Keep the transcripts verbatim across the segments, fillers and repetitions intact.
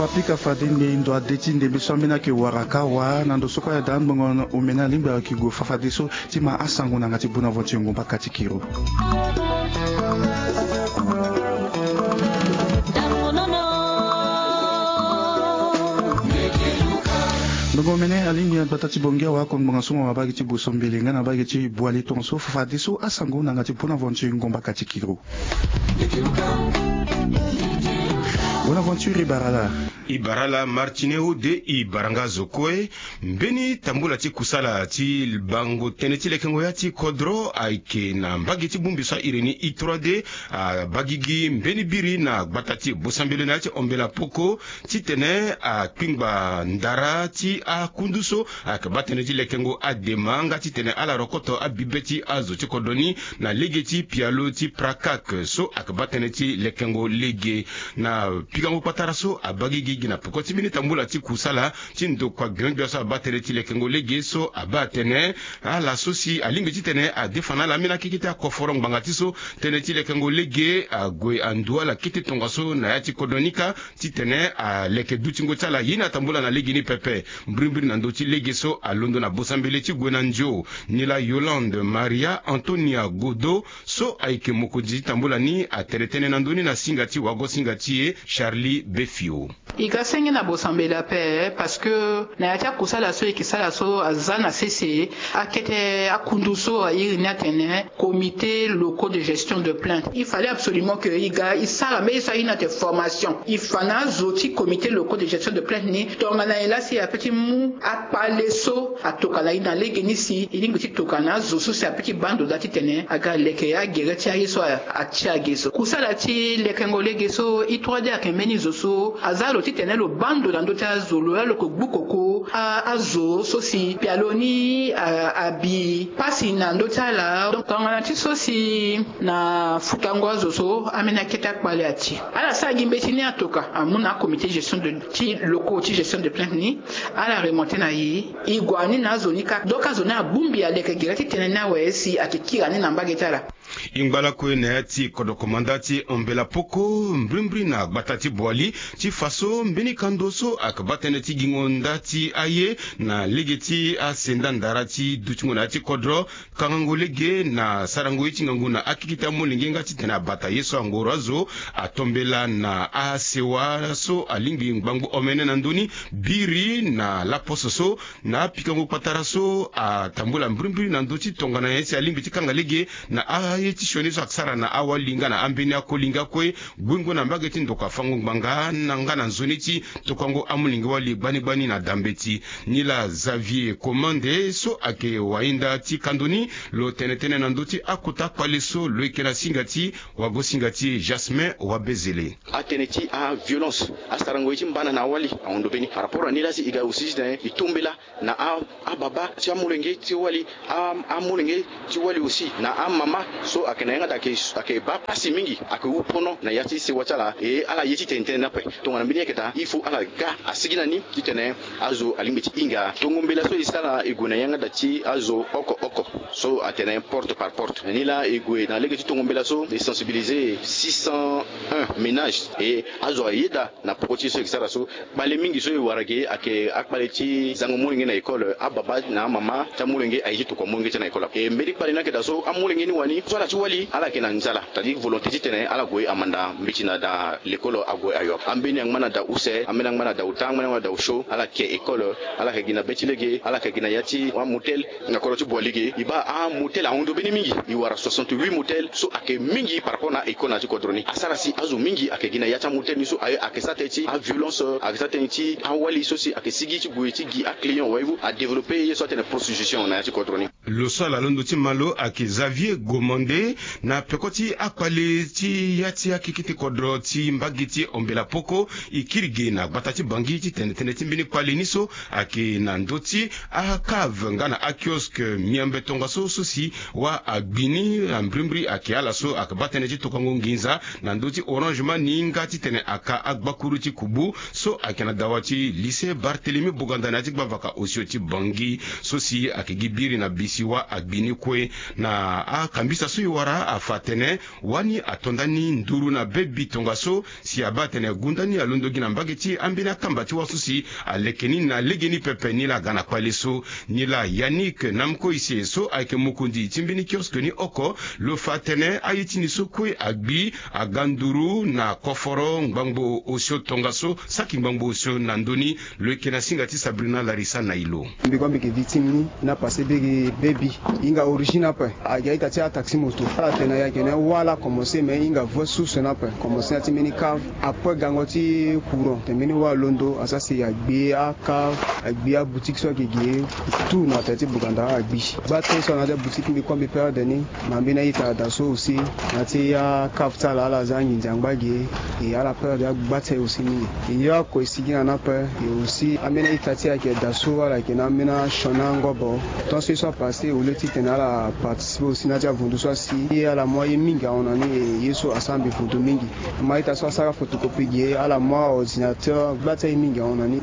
Apika fade nde ndo ade ti ndembe so ambeni ayeke wara kawa na ndo so kue ayeda angbongo omene alingbi ayeke gue fa fadeso ti ma asango na yanga ti Bonaventure Ngomba Katikiro. Ndongo omene alingbi na gbata ti Bongi awa akon ngbanga so mo na mbage ti Bosombele nga na mbage ti Boali tongaso fa fadeso asango na yanga ti Bonaventure Ngomba Katikiro. Bonaventure e bara laa. E bara laa Martine Ode, e bara nga zo kue. Mbeni tambula ti kusala ti bango tënë ti lekengo ya ti kodro ayeke na mbage ti bongbi so a iri ni I trois D, abagigi mbeni biri na gbata ti Bosombele na ya ti Ombela Poko, titene akpingba ndara ti akundu so ayeke baa tënë ti lekengo adema nga titene ala rokoto abibe ti azo ti kodro ni na lege ti pialo ti Prakak so ayeke baa tënë ti lekengo lege. Na pikango kpatara so abagigi gi na peko ti mbeni tambula ti kusala ti ndokua gbia gbia so abaa tënë ti lekengo lege so abaa atene ala so si alingbi titene adefa na ala ambeni akeke ti akoforo ngbanga ti so tënë ti lekengo lege ague andu ala kete tongaso na ya ti kodro ni kâ titene aleke dutingo ti ala ye ni atambula na lege ni pepe. Mbirimbiri na ndö ti lege so alondo na Bosombele ti gue na nzio. Nilaa Yolande Maria Antonia Godo so ayeke mokonzi ti tambula ni atene tënë na ndö ni na singa ti wago singa ti e Charlie Befio. E ga senge na Bosombele ape parce que na ya ti akusala so e yeke sara so aza na sese akete akundu so a iri ni atene comité locaux de gestion de plainte. Il fallait absolument que e ga e sara mbeni so a iri ni atene formation. E fa na azo ti comité locaux de gestion de plainte ni tongana e laa si e ape ti mu akpale so atoka na e na lege ni si e lingbi ti toka na azo so si ape ti baa ndo daa titene aga leke agere ti aye so a- atia ge so. Kusala ti lekengo lege so I trois D ayeke mbeni zo so aza lo titene lo baa ndo na ndö ti azo lo laa lo yeke gbu koko a- azo so si pialo ni a- abi pasi na ndö ti ala. Donc tongana ti so si na futango azo so ambeni akete akpale ati ala sara gi mbeti ni atoka amu na acomité gestion de ti locaux ti gestion de plainte ni. Ala remonté na e e gue ni na azo ni kâ. Donc azo ni abongbi aleke gere ti tene ni awe si ayeke kiri ni na mbage ti ala. E ngba lakue na ya ti kodro komanda ti Ombela Poko mbirimbiri na gbata ti Boali ti fa so mbeni kando so ayeke baa tënë ti gingo nda ti aye na lege ti asenda ndara ti dutingo na ya ti kodro kangango lege na sarango ye ti ngangu na akeke ti amolenge nga titene abata ye so angoro azo atombela na asewa so alingbi ngbangbo omene na ndö ni biri na laposo so na apikango kpatara so atambula mbirimbiri na ndö ti tongana ye si alingbi ti kanga lege na aye ti sioni so asara na awali nga na ambeni akoli nga kue. Guengo na mbage ti ndokua fango ngbanga na nga na nzoni ti tokuango amolenge wali gbani gbani na dambeti. Nilaa Xavier Komande so ayeke wahinda ti kando ni lo tene tënë na ndö ti akota kpale so lo yeke na singa ti wago singa ti Jasmin Wabezele. Atënë ti aviolence asarango ye ti mbana na awali ahon ndo mbeni par rapport na ni laa si e ga aussi titene e tombela na a- ababa ti amolenge ti wali a- amolenge ti wali aussi na amama so ayeke na yanga daa ayeke baa pasi mingi ayeke hu pono na ya ti sewa ti ala e ala ye ti tene tënë ni ape. Tongana mbeni ayeke daa il faut ala ga asigi na ni titene azo alingbi ti hinga tongo mbela so e sara e gue na yanga daa ti azo oko oko so atene porte par porte. Ni laa e gue na lege ti tongo mbela so e sensibiliser six cent un ménages e azo ayeda na poko ti so e sara so. Kpale mingi so e wara ge ayeke akpale ti zango molenge na école ababa na amama ti amolenge aye ti tokua molenge ti na école ape e mbeni kpale ni ayeke daa so amolenge ni wani so ala ti wali ala yeke na nzala c'est-à-dire volonté titene ala gue amanda mbeti na daa l'école ague ayo. Ambeni angba na daa use ambeni angba na daa ota ambeni angba na daa osio ala yeke école ala yeke gi na be ti lege ala yeke gi na ya ti amotel. Na kodro ti Boali ge e baa amotel ahon ndo mbeni mingi e wara soixante-huit motel so ayeke mingi par rapport na école na ya ti kodro ni asara si azo mingi ayeke gi na ya ti amotel ni so aye ayeke sara tënë ti aviolence ayeke sara tënë ti awali so si ayeke sigi ti gue ti gi aclient waibu adévelopper ye so atene prostitution na ya ti kodro ni. Lo so ala londo ti malo ayeke Xavier Gomande na peko ti akpale ti ya ti akekete kodro ti mbage ti Ombela Poko e kiri ge na gbata ti Bangi ti tene tënë ti mbeni kpale ni so ayeke na ndö ti akave nga na akioske miambe tongaso so si wa agbi ni na mbirimbiri ayeke ala so ayeke baa tënë ti tokango nginza na ndö ti Orange Money nga titene aka agbakuru ti kubu so ayeke na dawa ti lycée Barthélemy Boganda na ya ti gbavaka osio ti Bangi so si ayeke gi biri na bisi. Siwa agbi ni kue na akambisa so e wara afa atene wani ato ndani nduru na bebi tongaso si abaa atene gunda ni alondo gi na mbage ti ambeni akamba ti wa so si aleke ni na legeni pepe. Nilaa aga na kpale so, nilaa Yannick Namkoise so ayeke mokonzi ti mbeni kioske ni oko, lo fa atene aye ti ni so kue agbi aga nduru na koforo ngbangbo osio tongaso saki ngbangbo osio na ndö ni. Lo yeke na singa ti Sabrina Larissa na e lo. Mbi kue mbi yeke victime ni na passé bege bebi. E hinga origine ape. Ayeke a-ita ti ataxi moto. Ala tene ayeke na wâ la commencé, mais e hinga vrai source ni ape. Commencé na ti mbeni cave. Après gango ti courant, tene mbeni wâ alondo, asara si agbi acave, agbi aboutique so ayeke ge tout na tere ti Buganda agbi. Gba tënë so na ya ti aboutique mbi kue mbi perdre ni. Na mbeni a-ita ada so aussi na ya ti acave ti ala, ala za anginzi angba ge. E ala perdre agba ti aye aussi mingi. E ye oko e sigi na ni ape. E aussi ambeni a-ita ti e ayeke da so, ala yeke na ambeni asioni angobo. Tant so ye so apassé, au lieu titene ala participer aussi na ya ti avundu so asi, ye ala mu aye mingi ahon na ni. E ye so asara mbi vundu mingi. Mo a-ita so asara photocopie ge, ala mu aordinateur, gba ti aye mingi ahon na ni.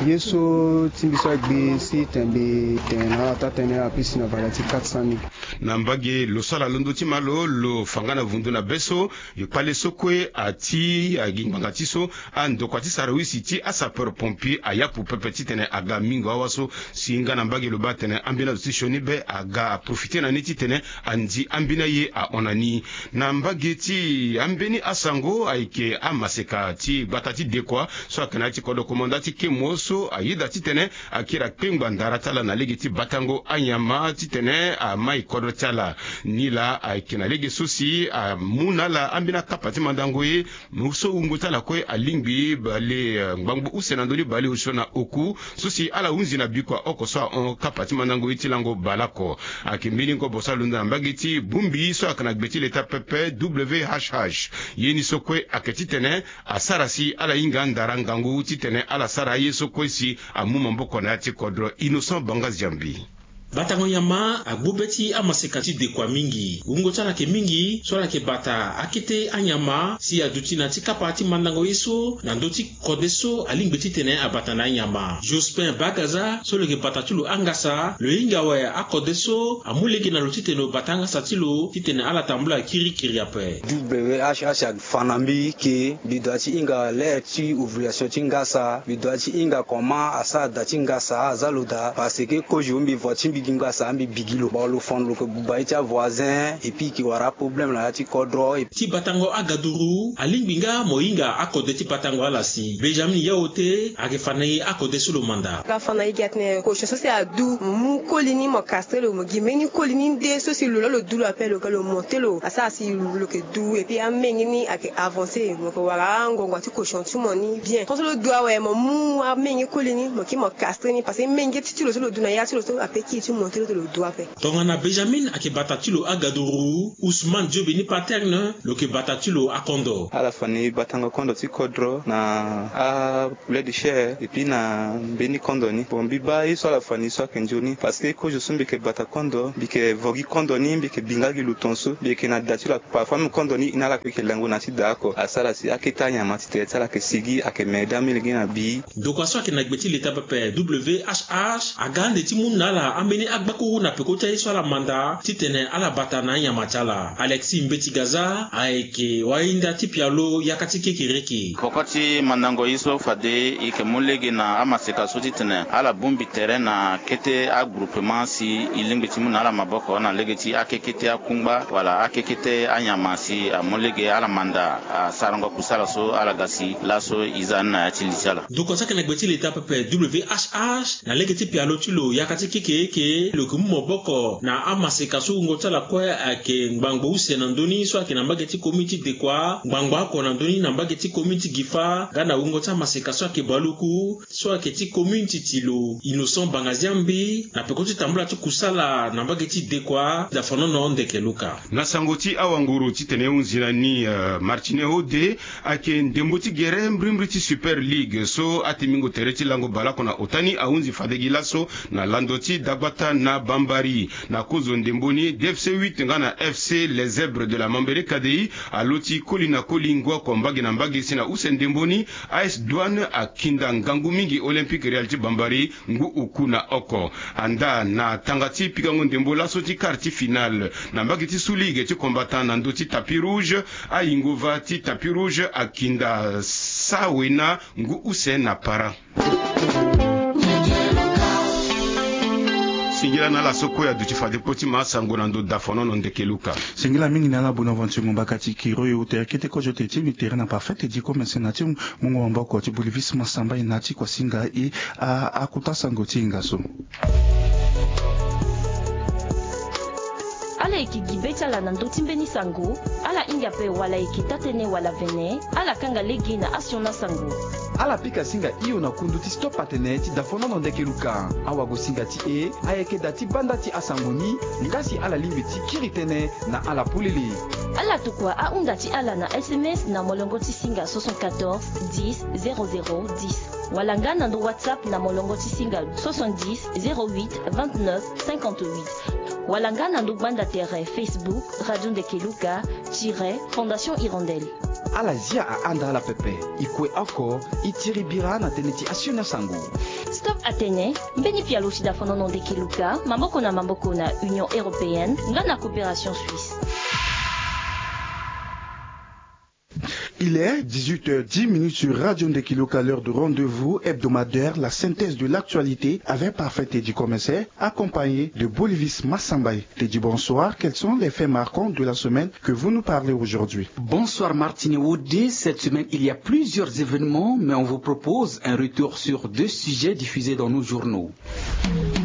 Ye so ti mbi so agbi si tene mbi tene na ala taa tënë, apesi na valeur ti quatre cent mille. Na mbage lo so ala londo ti ma lo, lo fa nga na vundu na be so, e kpale so kue ati agi ngbanga ti so, andokua ti sarawisi ti asapeur pompier ayapu pepe titene aga mingo awa so, si nga na mbage lo baa atene ambeni azo ti sioni be aga aprofite na ni titene anzi ambeni aye ahon na ni. Na mbage ti ambeni asango ayeke amaseka ti gbata ti Dekoa so ayeke na ya ti kodro komanda ti kemo so ayeda titene akiri akpengba ndara ti ala na lege ti batango anyama titene amai kodro ti ala. Nilaa ayeke na lege so si amu na ala ambeni akapa ti mandango ye. Mo so wungo ti ala kue alingbi bale, eh, ngbangbo use na ndö ni bale osio na oku so si ala hunzi na bikua oko so ahon kapa ti mandango ye ti lango baleoko. Ayeke mbeni ngobo so alondo na mbage ti bongbi so ayeke na gbe ti leta pepe W H H. Ye ni so kue ayeke titene asara si ala hinga ndara ngangu titene ala sara aye so kue si amu maboko na ya ti kodro. Innocent Banga Ziambi. Batango nyama agbu be ti amaseka ti Dekoa mingi. Wungo ti ala ayeke mingi so ala yeke bata akete anyama si aduti na ya ti kapa ti mandango ye so na ndö ti kode so alingbi titene abata na anyama. Jospin Bagaza so lo yeke bata ti lo angasa, lo hinga awe akode so amu lege na lo titene lo bata angasa ti lo titene ala tambula kirikiri ape. W H H afa na mbi ke mbi doit ti hinga l'heure ti ovulation ti ngasa, mbi doit ti hinga comment asara da ti ngasa aza lo daa, parce que kozo mbi voix ti mbi gi ngasa mbi bigi lo. Bon, lo fa na lo ke buba ye ti avoisin, et puis e ke wara aproblème na ya ti kodro. Ti batango agaduru alingbi nga mo hinga akode ti batango ala si. Benjamin Yaote ayeke fa na e akode so lo manda. Nga fa na e gi atene kozo so si adu, mo mu koli ni mo castre lo, mo gi mbeni koli ni nde so si lo laa lo du lo ape, lo ga lo monte lo asara si lo yeke du, et puis amenge ni ayeke avancer, mo yeke wara angongo ti kozo ti mo ni bien. Tant so lo du awe, mo mu amenge koli ni mo kiri mo castre ni, parce que menge ti ti lo so lo du na ya ti lo so ape kiri ti monte lo te lo du ape. Tongana Benjamin ayeke bata ti lo agaduru, Ousmane Diobeni Paterne lo yeke bata ti lo akondo. Ala fa na e batango kondo ti kodro na a poulet de chair, et puis na mbeni kondo ni. Bon, mbi baa ye so ala fa na e so ayeke nzoni, parce que kozo so mbi yeke bata kondo, mbi yeke vo gi kondo ni, mbi yeke bi nga gi lo tongaso, mbi yeke na da ti lo. Parfois même kondo ni e na ala kue e yeke lango na ya ti da oko. Asara si akete anyama ti tere ti ala ayeke sigi, ayeke me daa, amolenge ni abi. Ndokua so ayeke na gbe ti leta pepe W H H aga ande ti mu na ala ambeni agbakuru na peko ti aye so ala manda titene ala bata na anyama ti ala. Alexis Mbeti Gaza ayeke wahinda ti pialo yaka ti kekereke. Peko ti mandango ye so fade e yeke mu lege na amaseka so titene ala bongbi tere na kete agroupement si e lingbi ti mu na ala maboko na lege ti akekete akungba wala akekete anyama si amu lege ala manda asarango kusala so ala ga si laso e za ni na ya ti li ti ala. Ndokua so ayeke na gbe ti leta pepe W H H na lege ti pialo ti lo yaka ti kekereke lo yeke mu maboko na amaseka so wungo ti ala kue ayeke ngbangbo use na ndö ni so ayeke na mbage ti commune ti Dekoa, ngbangbo oko na ndö ni na mbage ti commune ti Gifa, nga na wungo ti amaseka so ayeke baluku so ayeke ti commune ti Tilo. Innocent Bangaziambi na peko ti tambula ti kusala na mbage ti Dekoa, Dafanono Ndeke Luka. Na sango ti awanguru titene e hunzi na ni, eh, Martine Hode ayeke ndembo ti gere mbrimbri ti Super League so atimbingo tere ti lango baleoko na ota ni ahunzi fade gi laso na lando ti dagba Ata na bambari na kozo ndembo ni, D F C huit nga na F C Les Zèbres de la Mambere K D I alo ti koli na koli ngu oko mbage na mbage si na use ndembo ni. A S Douane akinda ngangu mingi Olympique Real ti bambari ngu oku na oko. Anda na tanga ti pikango ndembo laso ti quart ti finale na mbage ti suli ge ti combattant na ndö ti tapis rouge. Ayingo va ti tapis rouge akinda sawena ngu use na para. Singila na ala so kue aduti fade kpo ti ma sango na ndo dafonono ndeke luka. Singila mingi na ala Bonaventure Ngombaka ti kiro e ute akete kozo te ti mi tere na parfait ti commerce na ti mungo maboko ti Bolivis Masamba e na ti kua singa e. Akuta sango ti hinga so. Ala yeke gi be ti ala na ndö ti mbeni sango. Ala hinga ape wala yeke taa-tënë wala vene. Ala kanga lege na asiona sango. Ala pika singa hio na kundu ti stop atene ti dafonono ndeke luka. Awagosinga ti e ayeke da ti banda ti asango ni. Nga si ala lingbi ti kiri tënë na ala polele. Ala tokua ahunda ti ala na sms na molongo ti singa soixante-quatorze dix zéro zéro dix, wala nga na ndo whatsapp na molongo ti singa soixante-dix zéro huit vingt-neuf cinquante-huit, wala nga na ndo gbanda tere Facebook Radio Ndeke Luka tire Fondation Hirondelle. Ala zia ahanda ala pepe. E kue oko e tiri bira na tënë ti asioni asango. Stop atene mbeni pialo ti dafonono ndeke luka maboko na maboko na Union Européenne nga na Coopération Suisse. Il est dix-huit heures dix minutes sur Radio Ndeke Luka, l'heure de rendez-vous hebdomadaire, la synthèse de l'actualité avec Parfait Teddy Commissaire, accompagné de Bolivis Massambaye. Teddy, bonsoir. Quels sont les faits marquants de la semaine que vous nous parlez aujourd'hui ? Bonsoir Martine Wodé. Cette semaine, il y a plusieurs événements, mais on vous propose un retour sur deux sujets diffusés dans nos journaux.